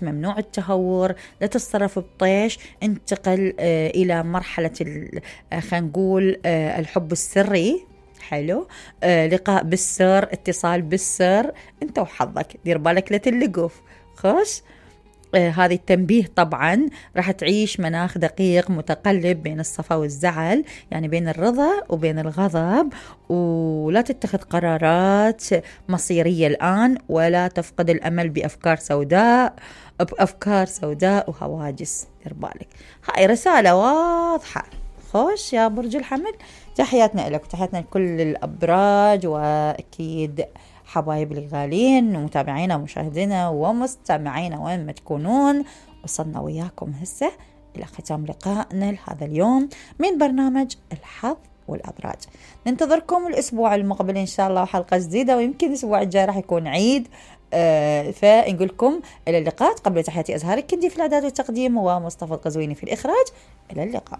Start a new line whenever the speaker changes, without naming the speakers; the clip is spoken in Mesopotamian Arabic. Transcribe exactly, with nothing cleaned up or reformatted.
ممنوع التهور، لا تتصرف بطيش، انتقل آه إلى مرحلة آه خلينا نقول آه الحب السري. حلو. آه لقاء بالسر، اتصال بالسر، انت وحظك، دير بالك لا تلقف. خوش. آه هذه التنبيه طبعا راح تعيش مناخ دقيق متقلب بين الصفا والزعل، يعني بين الرضا وبين الغضب، ولا تتخذ قرارات مصيرية الآن، ولا تفقد الأمل بأفكار سوداء بأفكار سوداء وهواجس. دير بالك، هاي رسالة واضحة. خوش يا برج الحمل، تحياتنا لك وتحياتنا لكل الأبراج، وأكيد حبايب الغالين ومتابعينا ومشاهدينا ومستمعينا وين ما تكونون. وصلنا وياكم هسه إلى ختام لقائنا لهذا اليوم من برنامج الحظ والأبراج. ننتظركم الأسبوع المقبل إن شاء الله وحلقة جديدة، ويمكن الأسبوع الجاي راح يكون عيد. آه فنقولكم إلى اللقاء. قبل تحياتي أزهار الكندي في الإعداد والتقديم، ومصطفى القزويني في الإخراج. إلى اللقاء.